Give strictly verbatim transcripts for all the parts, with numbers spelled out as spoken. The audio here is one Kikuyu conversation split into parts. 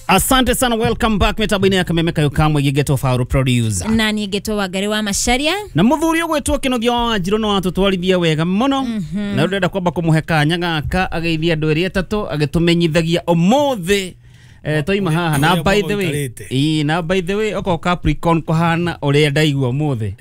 Asante sana, welcome back mitambo-inĩ ya Kameme Kayo Kamwe gĩgetwo Faru producer na niĩ ngetwo Wangari wa Macharia. Na muthuri ũgwĩtwo Kĩnuthia wa Wanjirũ no atũtwarithia wega mũno, na rĩu ndĩrenda kwamba kũmũhe kanya gaka ageithia andũ erĩ atatũ agĩtũmenyithagia ũmũthĩ eh, twaima haha na by the way, ĩĩ, na by the way okorwo Capricorn kũhana ũrĩa ndaigua ũmũthĩ,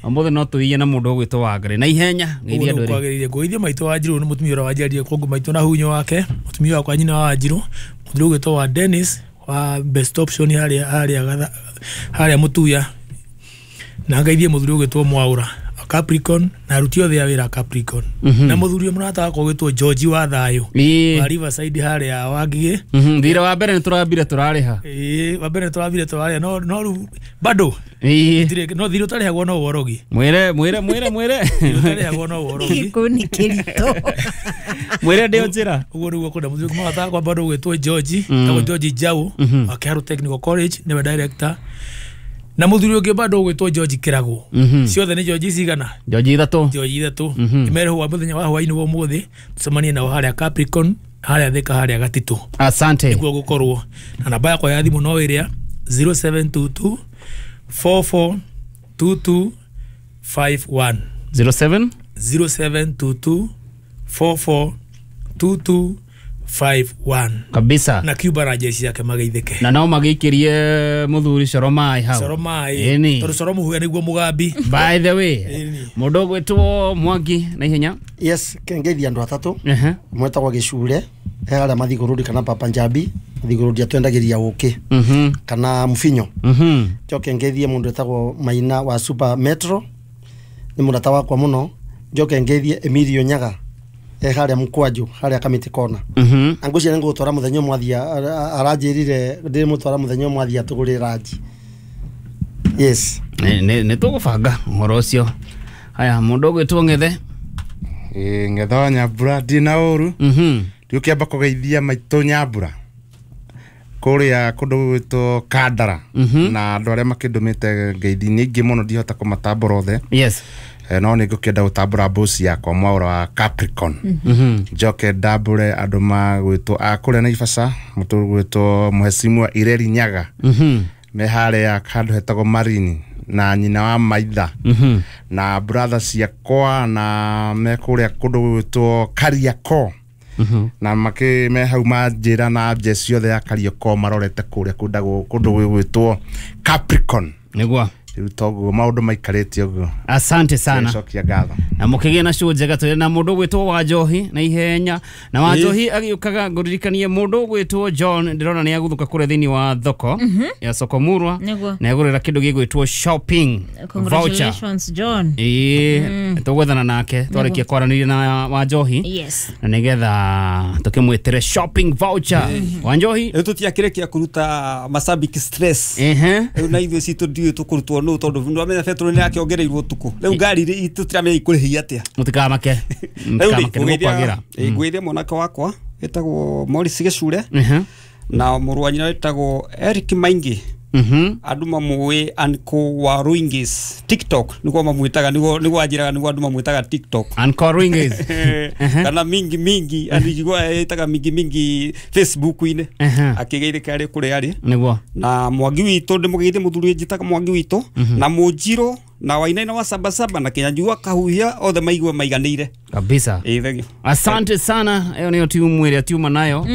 ũmũthĩ no tũiye na mũndũ ũgwĩtwo Wangari na ihenya geithia andũ erĩ. Kwagĩrĩire ngũgeithia maitũ wa Wanjirũ nĩ mũtumia ũrĩa wanjiarire kũngũ maitũ na hunyo wake, mũtumia wakwa nyina wa Wanjirũ, mũthuri ũgwĩtwo wa Dennis wa Best Option harĩa harĩa harĩa Mũtuya, na ngeithie mũthuri ũgwĩtwo Mwaũra wa Capricorn na aruti othe a wĩra a Capricorn, na mũthuri mũrata wakwa ũgwĩtwo George wa Thayũ wa Riverside harĩa Wangigĩ. Thira wa mbere nĩ tũrambire tũrarĩha. Ĩĩ, wa mbere nĩ tũrambire tũrarĩha, no no rĩu bado ĩĩ no thirĩ ũtarĩhagwo no worogi. Mwĩre mwĩre mwĩre mwĩre ũtarĩhagwo no worogi. Gĩkũ nĩ kĩritũ. Mwĩre ndĩ njĩra. Ũguo nĩguo kwenda mũthuri mũrata wakwa bado ũgwĩtwo George, etagwo George Njau wa Kĩharũ Technical College, nĩwe director. Na mũthuri ũngĩ bado ũgwĩtwo George Kĩragũ. Ciothe nĩ George cigana? George ithatũ. George ithatũ. Imerehwo wa mũthenya wa hwaĩ-inĩ wa ũmũthĩ tũcemanie nao harĩa Capricorn, harĩa Thika, harĩa Gatitũ. Asante. Nĩkuo gũkorwo. Na namba yakwa ya thimũ no ĩrĩa zero seven two two four four two two five one. zero seven? zero seven two two four four two two five one. Kabisa. Na Cuba na jeshi yake mageithĩke. Na nao magĩikĩrie mũthuri Coro maĩ hau. Coro maĩ. Tondũ Coro mũhuya nĩguo mũgambi. By the way, mũndũ ũgwĩtwo Mwangi na ihenya. Yes, ngeithia andũ atatũ. Mwetagwo Gĩcure, he harĩa Mathigũrũri kana Papa Njambi, Mathigũrũri atwendagĩria ũkĩ kana mũbinyo. Njoke ngeithie mũndũ wĩtagwo Maina wa Super Metro, nĩ mũrata wakwa mũno. Njoke ngeithie Emilio Nyaga e harĩa Mkwanju, harĩa Kamiti Kona. Na ngwĩciria nĩ ngũgũtwara mũthenya ũmwe athiĩ, aranjĩrire ndĩmũtwara mũthenya ũmwe athiĩ atũgũrĩre ranji. Yes. Nĩ tũgũbanga ũhoro ũcio. Haya, mũndũ ũgwĩtwo Ng'ethe. Ĩĩ, Ng'ethe wa Nyambura ndirĩ na ũru. Ndiũkĩamba kũgeithia maitũ Nyambura kũrĩa kũndũ gũgwĩtwo Kandara, na andũ arĩa makĩndũmĩte ngeithi nĩ aingĩ mũno ndihota kũmatambũra othe. Yes. No nĩ ngũkĩenda gũtambũra boss yakwa Mwaũra wa Capricorn. Njoke ndambũre andũ magwĩtwo a kũrĩa Naivasha, mũndũ ũgwĩtwo Mheshimiwa Ireri Nyaga me harĩa handũ hetagwo Marini, na nyina wa Maitha, na brother ciakwa na me kũrĩa kũndũ gũgwĩtwo Kariakoo, na makĩ me hau manjĩra na jeshi yothe ya Kariakoo marorete kũrĩa kũndũ gũgwĩtwo Capricorn. Nĩguo. Rĩu toguo maũndũ maikarĩte ũguo. Asante sana. Cokia ngatho. Na mũkĩgĩe na show njega tũrĩ na mũndũ ũgwĩtwo Wanjohi na ihenya. Na Wanjohi agĩũkaga ngũririkanie mũndũ ũgwĩtwo John ndĩrona nĩ agũthũka kũrĩa thĩinĩ wa thoko ya Soko Murwa, na agũrĩra kĩndũ gĩgwĩtwo shopping voucher. Congratulations John. Ĩĩ, tũgwethana nake twarĩkia kwaranĩria na Wanjohi. Yes. Na nĩgetha tũkĩmwĩtĩre shopping voucher. Wanjohi, rĩu tũtiakĩrĩkia kũruta mashabiki stress. Ehe. Rĩu na ithuĩ citũ ndiũĩ tũkũrutwo nũ tondũ nĩwamenya betũrũ nĩ yakĩongereirwo ũtukũ. Rĩu ngari tũtiramenya ikũrĩhia atĩa. Mũtikamake. Mũtikamake nĩ gũkwagĩra. Ngwĩthia mwanake wakwa wĩtagwo Morris Gĩcure na mũrũ wa nyina wĩtagwo Eric Maingi. Andũ mamũĩ Uncle wa Ruingis TikTok nĩguo mamwĩtaga, nĩguo nĩguo anjĩraga nĩguo andũ mamwĩtaga TikTok. Uncle Ruingis. Kana mingi mingi andũ njigua ĩtaga mingi mingi Facebook-inĩ akĩgeithĩka arĩ kũrĩa arĩ. Nĩguo. Na Mwangi witũ ndĩmũgeithie mũthuri njĩtaga Mwangi witũ na Mũnjirũ na Wainaina wa Sabasaba na Kĩnyanjui wa Kahuhia othe maigue maiganĩire kabisa. Ĩĩ, asante sana. Ĩyo nĩyo timu ĩrĩa tiuma nayo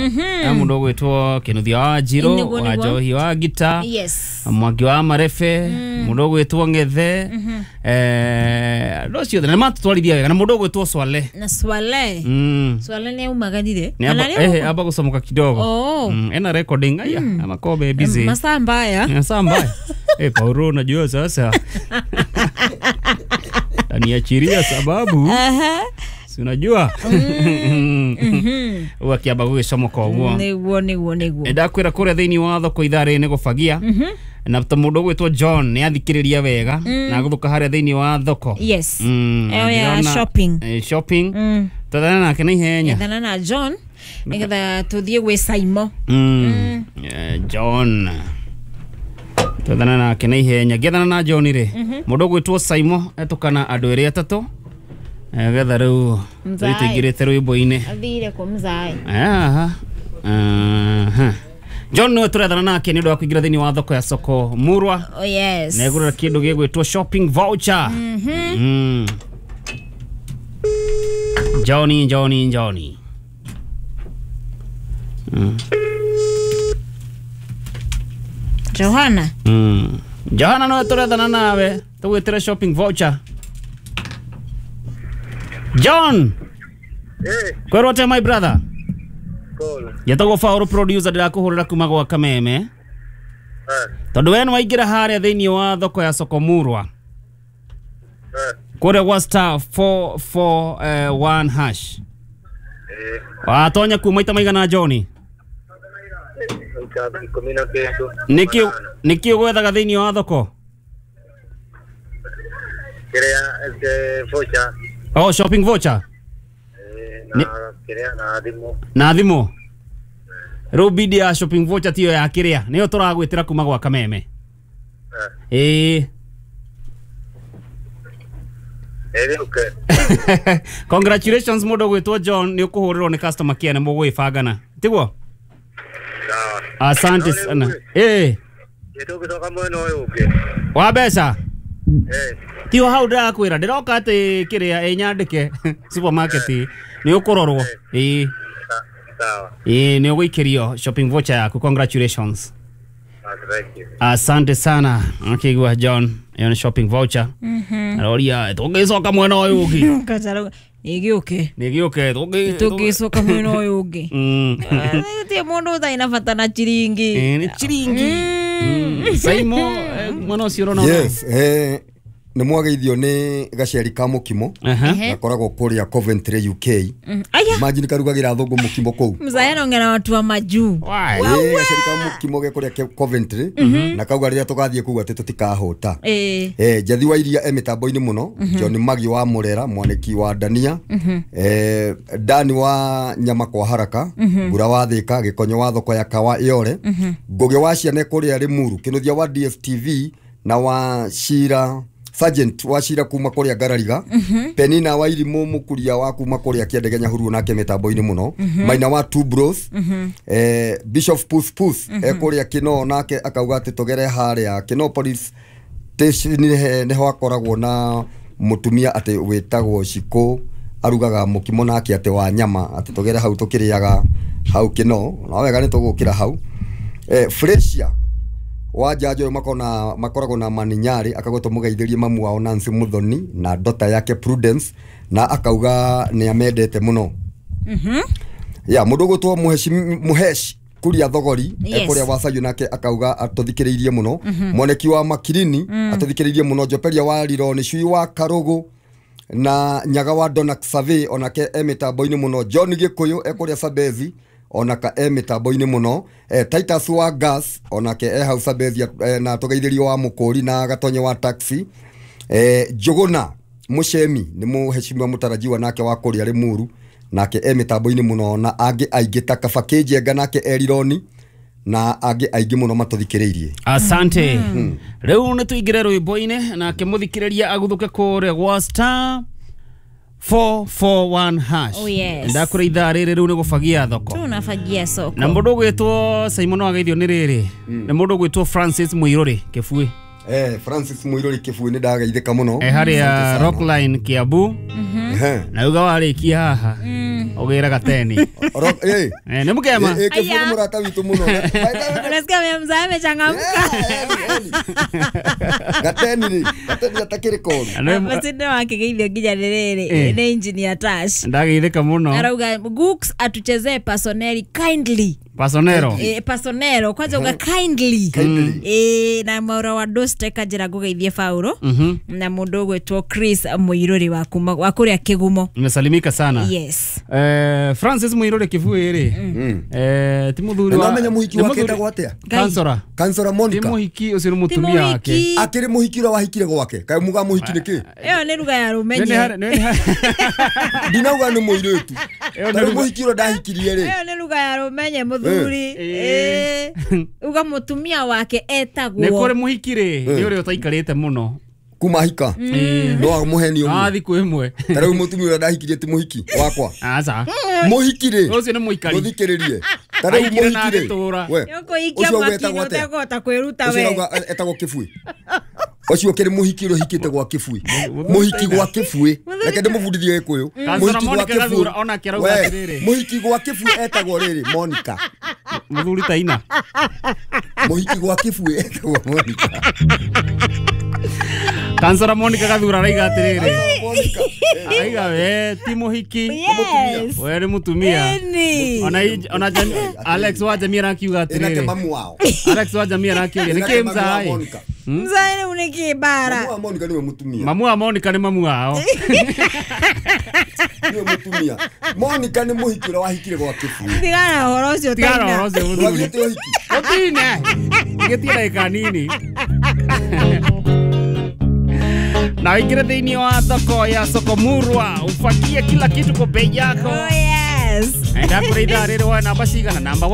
ya mũndũ ũgwĩtwo Kĩnuthia wa Wanjirũ, wa Njohi wa Gita, yes, Mwangi wa Marefe, mũndũ ũgwĩtwo Ng'ethe, eh andũ acio othe nĩ matũtwarithia wega, na mũndũ ũgwĩtwo Swale. Na Swale. Swale nĩ aumaganire. Eh, aba gũcomoka kidogo. Ena recording aya amakobe busy. Masaa mbaya. Masaa mbaya. Eh, Paulo unajua sasa. Taniachiria sababu. Aha. Si unajua? Wakiamba gũgĩcomoka ũguo. Nĩguo nĩguo nĩguo. Ndakwĩra kũrĩa thĩinĩ wa thoko ithaa rĩrĩ nĩ gũbagia. Na ta mũndũ ũgwĩtwo John nĩ athikĩrĩria wega na agũthũka harĩa thĩinĩ wa thoko. Yes. Ĩyo ya shopping. Shopping. Twathana nake na ihenya. Ethana na John nĩgetha tũthiĩ gwĩ Saimo. John. Twathana nake na ihenya. Ngĩethana na John rĩ, mũndũ ũgwĩtwo Saimo etũkana andũ erĩ atatũ getha rĩu tũingĩrĩte rwĩmbo-inĩ. Athire kũ mzae? Aha. Aha. John niwe tũrethana nake nĩ ũndũ wa kũingĩra thĩinĩ wa thoko ya soko Murwa. Oh yes. Na egũrĩra kĩndũ gĩgwĩtwo shopping voucher. Mm. Mm. Johnny Johnny Johnny. Mm. Johanna. Mm. Johanna no tũrethana nawe tũgwĩtĩre shopping voucher. John. Eh. Kwĩrwo atĩa my brother? Cool. Njetagwo Faũrũ producer ndĩrakũhũrĩra kuma gwa Kameme. Eh. Tondũ we nĩwaingĩra harĩa thĩinĩ wa thoko ya soko Murwa. Eh. Kũrĩa gwa star four four one hash. Eh. Watonya kuma maita maigana Johnny? Nĩkĩ nĩkĩ ũgwethaga thĩinĩ wa thoko? Kĩrĩa voucher. Oh, shopping voucher. Eh, na kĩrĩa na thimũ. Na thimũ. Rĩu bidi ya shopping voucher tiyo ya kĩrĩa nĩyo tũragwĩtĩra kuma gwa Kameme. Eh. Eh, okay. Congratulations mũndũ ũgwĩtwo John nĩ ũkũhũrĩrwo nĩ customer care na mũgwĩbangana. Tiguo? Asante sana. Eh. Tũgĩcoka mwena ũyũ ũngĩ. Wa mbeca? Eh. Tio hau ndĩrakwĩra ndĩroka atĩ kĩrĩa ĩnyandĩke supermarket nĩ ũkũrorwo. Ĩĩ. Sawa. Ĩĩ nĩ ũgũikĩrio shopping voucher yaku. Congratulations. Thank you. Asante sana. Akigwa John, ĩyo nĩ shopping voucher. Mhm. Aroria tũngĩcoka mwena ũyũ ũngĩ. Kacaro nĩgĩũke. Nĩgĩũke tũngĩ tũngĩcoka mwena ũyũ ũngĩ. Mm. Gũtirĩ mũndũ ũtarĩ na bata na chiringi. Eh, nĩ chiringi. Saimo mwena ũcio ũrona. Yes, eh nĩ mwageithio nĩ gaceri ka mũkimo gakoragwo kũrĩa Coventry U K. Aya. Imagine karugagĩra thũngũ mũkimo kũu. Mzaya nongera watu wa majuu. Ĩĩ gaceri ka mũkimo ge kũrĩa Coventry na kauga rĩrĩa tũgathiĩ kũu atĩ tũtikahũta. Eh Njathi wa iria e mĩtambo-inĩ mũno, John Magi wa Murera, mwaniki wa Dania, eh Dani wa nyama kwa haraka, Mbura wa Thika, Gĩkonyo wa thoko ya Kawa Yore, Ngũgĩ wa ciana kũrĩa Limuru, Kĩnuthia wa D S T V na wa Shira Sergeant wa Shira kuma kuria Ngarariga, Penina wa Irimu mukuria wa kuma kuria Kiendege Nyahururu nake mitambo-inĩ mũno, Maina wa Two Bros, eh Bishop Puth Puth e kuria Kino nake akauga atĩ tũgere harĩa Kino Police Station nĩho akoragwo na mutumia atĩ wĩtagwo Shiko arugaga mũkimo nake atĩ wa nyama atĩ tũgere hau tũkĩrĩaga hau Kino na wega nĩ tũgũkĩra hau. Eh Fresia wa jajo makona makoragwo na maninyari akagwo mugeithirie mamu wao Nancy Muthoni na dota yake Prudence na akauga ni amendete muno. Mhm. Ya mundu gutwo muheshi muheshi kuria thogori yes. Kuria wacayu nake akauga atuthikiriirie muno. Mm -hmm. Moneki wa Makirini mm. atuthikiriirie muno, Joperia wa Riro ni cui wa Karugu na Nyaga wa Donak Survey onake e mitambo-inĩ muno, John Gikuyu e kuria Sabezi onaka e mitambo-inĩ muno, eh, Titus wa Gas onake e hau Sabezi eh, na tugeithirio wa Mukuri na Gatonye wa taxi, eh, Njuguna Mucemi ni muheshimiwa mutarajiwa nake wa kuria Limuru nake e mitambo-inĩ muno na angĩ aingĩ ta Kabaki Njenga nake Erironi na angĩ aingĩ muno matuthikiriirie. Asante. Mm. Rĩu nĩ tũingĩre rwĩmbo-inĩ nake mũthikĩrĩria aguthuke kũrĩa gwa star four four one hash. Oh, yes. Ndakũrĩ ithaa rĩrĩ rĩu nĩ gũbagia thoko. Tunafagia soko. Na mũndũ ũgwĩtwo Simon wageithio nĩ rĩrĩ. Nĩ mũndũ ũgwĩtwo Francis Muiruri Kĩbui. Eh Francis Muiruri Kĩbui nĩ ndageithĩka mũno. Eh harĩa Rockline Kiambu. Na uga warĩkia haha. Ũgĩra gateni. Eh nĩ mũkema. Eh Kĩbui nĩ mũrata witũ mũno. Unasikia mzee amechangamka. Gateni rĩ, gateni atakĩrĩ koru. Masinde wakigeithio nginya rĩrĩ nĩ engineer Tash. Ndageithĩka mũno. Arauga Gooks atuchezee Pasoneri kindly. Pasonero. Eh Pasonero kwanza uga kindly. Kindly. Eh na Maura wa Doste kajira ngugeithie Fauro na mundu ugwitwo Chris Muiruri wa kuma wa kuria Kigumo. Nimesalimika sana. Yes. Eh Francis Muiruri Kĩbui rĩ. Eh ti muthuri wa. Namenye muhiki wake etagwo atia? Kansora. Kansora Monica. Ti muhiki ucio ni mutumia wake. Akiri muhiki ura wahikire gwake. Kai muga muhiki niki? Iyo ni ruga ya rumenye. Ndinauga ni muiritu. Ni muhiki ura ndahikirie ri. Iyo ni ruga ya rumenye muthuri. Eh uga mutumia wake etagwo. Ni kuri muhiki ri ni uri utaikarite muno. Kuma hika no amũheni Ah ũmwe. Thikũ ĩmwe. Ta rĩu mũtumia ũrĩa ndahikirie ti mũhiki wakwa. Aca. Mũhiki rĩ, Ũcio nĩ mũikari. mũthikĩrĩrie, ta rĩu Aikire na mũhiki rĩ, agĩtũra. we, Nĩũkũhikia ũcio mwaki-inĩ wetagwo atĩa? ũtekũhota kwĩruta Ũcio we. ũrauga etagwo kĩbui. Ũcio ũkĩrĩ mũhiki ũrĩa ũhikĩte gwa kĩbui, mũhiki gwa kĩbui, reke ndĩmũbundithie gĩkũyũ. Kansara Mũhiki gwa Monica kĩbui. Gathura onake arauga We, atĩrĩrĩ. mũhiki gwa kĩbui etagwo rĩrĩ Monica. Mũthuri ta ina. Mũhiki gwa kĩbui etagwo Monica. Kansara Monica Gathura araiga atĩrĩrĩ. Monica. Araiga we ti mũhiki. Yes. We nĩ mũtumia. Ĩni. Ona i- ona Jami- Alex wa Jamii arakiuga Ĩnake atĩrĩrĩ. mamu wao. Alex wa Jamii arakĩũria nĩkĩ Ĩnake mamu wa mzaĩ? Monica. Mzae rĩu nĩkĩ mbara? Mamu wa Monica nĩwe mũtumia. Mamu wa Monica nĩ mamu wao. Nĩwe mũtumia. Monica nĩ mũhiki ũrĩa wahikire gwa kĩbui. Tigana na ũhoro ũcio Tigana na Taina. ũhoro ũcio mũthuri. Ndwathiĩte ũhiki. Ũtine. Gĩtie ndagĩka nini. Na ũingĩre thĩinĩ wa thoko ya Sokomurwa ufagie kila kitu kwa bei yako. Oh yes. Enda kũrĩ ithaa rĩrĩ woe namba cigana? Namba